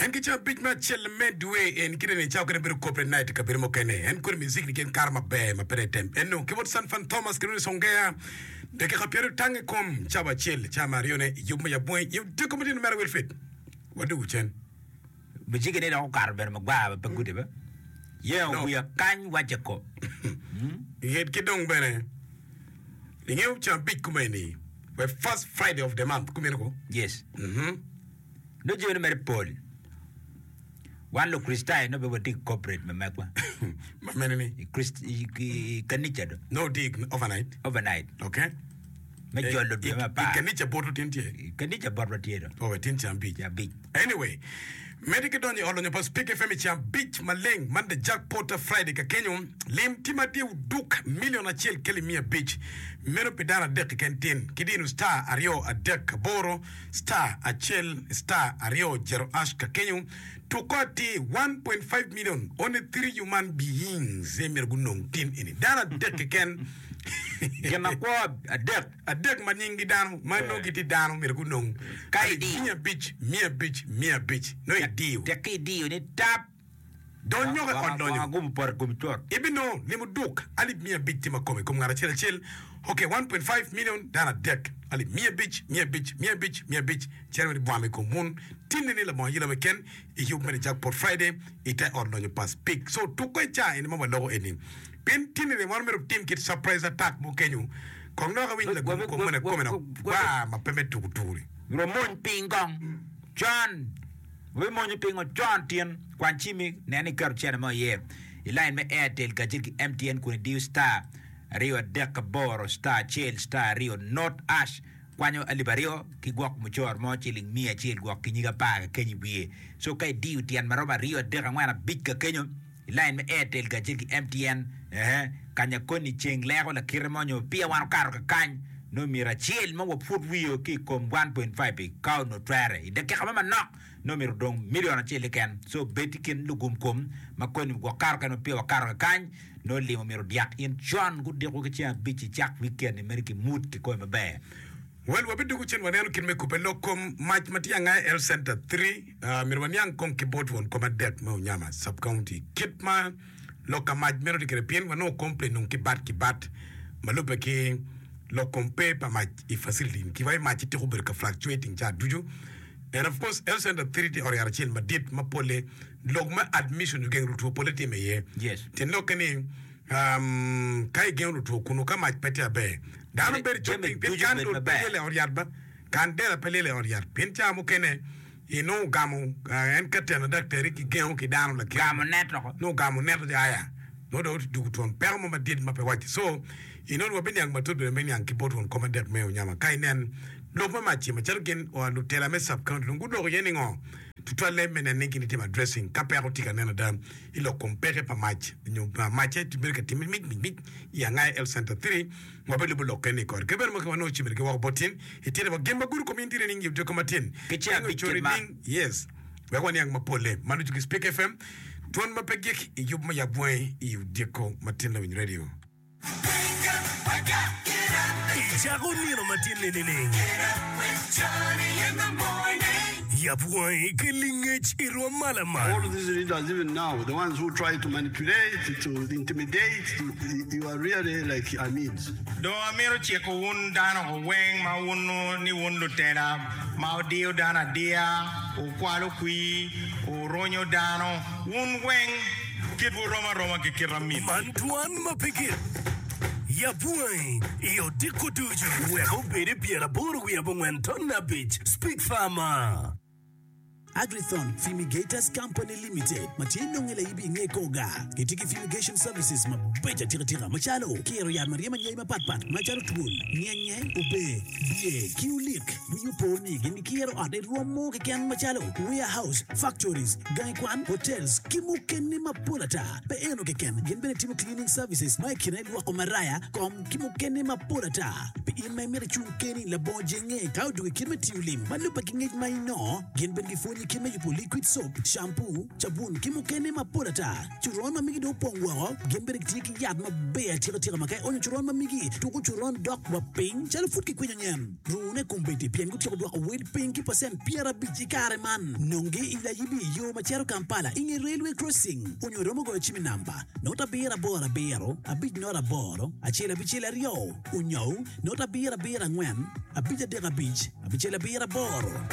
En ki cabic me acel me dwe en kite ni cawa kene bedo corporate night i kabedo mukene. En kodi music ni gin kato maber ma pe tem. Eno ki bot Sanfan Thomas ki Rooney Songea dakika pyeraryo tang i kom cawa acel cawa me aryone i yub me yabwongi i odiko matino mere Wilfred. Wadugu cen. Muziki ni dok okato bedo magwar ma pe gude ba. Yengo No. wiya kany wacce ko. Yet ki dong bene ingeyo cabic kumeni we first Friday of the month kumeno ko. Yes. Mhm. Nongo jami ni mere pol. Wan Lukricitayo nongo bene watye ki corporate ma megwa. Ma mene ni? I Krist- i- i- i kanica do. Nongo tye i overnight. Overnight. Okay. Me jolo dwe me I apar. kanica botwu tin tye? I kanica botwa tye do. Oh, tin cambic. Abic. Anyway, medde ki donyo i ot lonyo pa Spik FM i cambic maleng man The Jack Potter Friday ka kenyo lim tye ma tye oduk million acel ki alip miya abic meno pi dano adek keken tin ki dino star aryo adek aboro star acel star aryo jero ash ka kenyo tuko atir 1.5 million only 3 human beings aye myero gunong tin eni dano adek keken Gin makwo adek. Adek ma nyinggi dano ma nongo gitye dano myero gunong Ka alip idiyo. 500, 500, 500 nongo idiyo. Tek ka idiyo ni tap. Dony nyoko i ot Wang lonyo. agum opoto i komi cut. Ibinongo limo duk alip 500 tye ma kome i kom ngat acel acel. Ok, 1.5 million dano adek. Alip 500, 500, 500, 500 cito wunu ibwamo i kom wun. Tinni ni labongo ayela keken i yub me The Jackpot Friday i te ot lonyo pa Speke. So tuko i ca eni ma waloko eni. Pien tinni ni wan omyero watim kit surprise attack mo kenyo. Kong dok awiny lagum kom moni akome dok gwa ma pe me tuku tuku-ni. Wamony piny kong con. Wabimonyo pingo con tin? Kwany cimmi, nen ni iketo cente mo iye i lain me Airtel kacel ki MTN kun idiyo star aryo adek aboro star acel star aryo not ash kwanyo alip aryo ki gwok mucoro mo ciling miya acel gwok ki nyig apar kakenyo i wiye. So ka idiyo tyen ma romo aryo adek angwen abic kakenyo I lain me Airtel kacel ki MTN, ehe, kanya koni ceng leko lakite mo nyo peya wan okato kakany, nongo myero acel ma wapwod wiyo ki i kom 1.5 ka onongo twere. I dakika mo manok, nongo myero odong milion acel keken. So bed i kin lugum kom ma koni gwok kato kene ma peya wakato kakany, nongo limo myero odyak in con gudiko ki ceng abic icak weekend-ni mere ki mood ki kome maber. Well, wabidwogo cen waneno kit me kubbe lok kom mac ma tye anga i Health Center 3. Myero waniang kong ki bot won kom adek me Onyama Sub County kit ma lok ka mac meno tye kwede pien wanongo complain dong ki bat ki bat ma lubbe ki lok kom pe pa mac i facility ni kiwa i mac ci tiko bedo ka fluctuating ca ducu and of course Health Center 3 tye ot yat acel madit ma pole lok me admission nyo gengo lutwo pole time iye Yes. tyen lokke ni um, ka igengo lutwo kunu ka mac pe tye aber dano bedo cok Jami piny pien ducu kan bed dul pe maber. lyel i ot yat ba Kandela pe lyel i ot yat pien cawa mukene inongo ogamo en ka teno daktari ki gengo ki dano lakite Gamo net oko. nongo ogamo net oco aya nongo dong odwogo twon peko mo madit ma pe wacce so inongo wabiniang matut bene me niang ki bot won kom adek me Onyama ka inen lok me mac-ci macalo gin lutela me sub county dong guloko iye ningo tutwalle me neno ni gin gitimo addressing ka peko tye ka nen ada i lok kom peke pa mac nyo macce bedo ka timme mic mic mic i Angaya Health Center 3 Wabilubo lokke ni kore. Kit meno ma wanongo cimere ki woko bot tin, itite wa gin ma gudo kom in tye nining i odiko matin. Ki ceng Pingo abic icori kit man. ning? Yes. Wek waniang mapolle. Man ducu ki Speak FM, dwon ma pe gik i yub me yab wangi i odiko matin lawiny radio. Icako nino matin-ni nining? Yab wangi ki lingec i rwom ma lamal. All these leaders even now, the ones who try to manipulate, to intimidate, to, you are really like Amids. Dong amito ciko wun dano weng ma wunnu ni wun lutela ma wudiyo dano adiya, wukwalo kwir, wurunyo dano, wun weng kitwu rom aroma ki kit amin. Man dwan ma pe gik. Yab wangi i odiko ducu wek obed i pyeraboro wiye abongwen ton abic. Speak Farmer. Agrithon Fumigators Company Limited ma tye nonge laibi i nge kor gar gitye ki fumigation services mabeco atika tika macalo kiro yat ma ryemo anyai mapat pat macalo twol, nyenye, ober, bye ki olik. Wii opo ni gin gikiro ot i rwom mo keken macalo warehouse, factories, gangi kwan, hotels ki mukene mapol ata. Pe eno keken, gin bene timo cleaning services ma i kine lwoko maraya, kom, ki mukene mapol ata. Pi in ma imito icung keni labongo jenge ka odwogo i kit me tiyo lim ma lubbe ki ngec ma inongo, gin bene gipwonyi. Gipwonyi kit me yubo liquid soap, shampoo, cabun ki mukene mapol ata. Coron ma migi dong opong woko, gin bene gitye ki yat maber atika tika ma ka ionyo coron ma migi, tuko coron dok wa piny calo pud kikwinyo nyen. Rune kombeddi pien gutyeko dwoko wel piny ki pacent 50 i kare man. Nongi i Layibi i yo ma cito Kampala i nge Railway Crossing onyo iromo goyo cim i namba, not abiro aboro abiro, abic not aboro, acel abicel aryo, onyo not abiro abiro angwen, abic adek abic, abicel abiro aboro.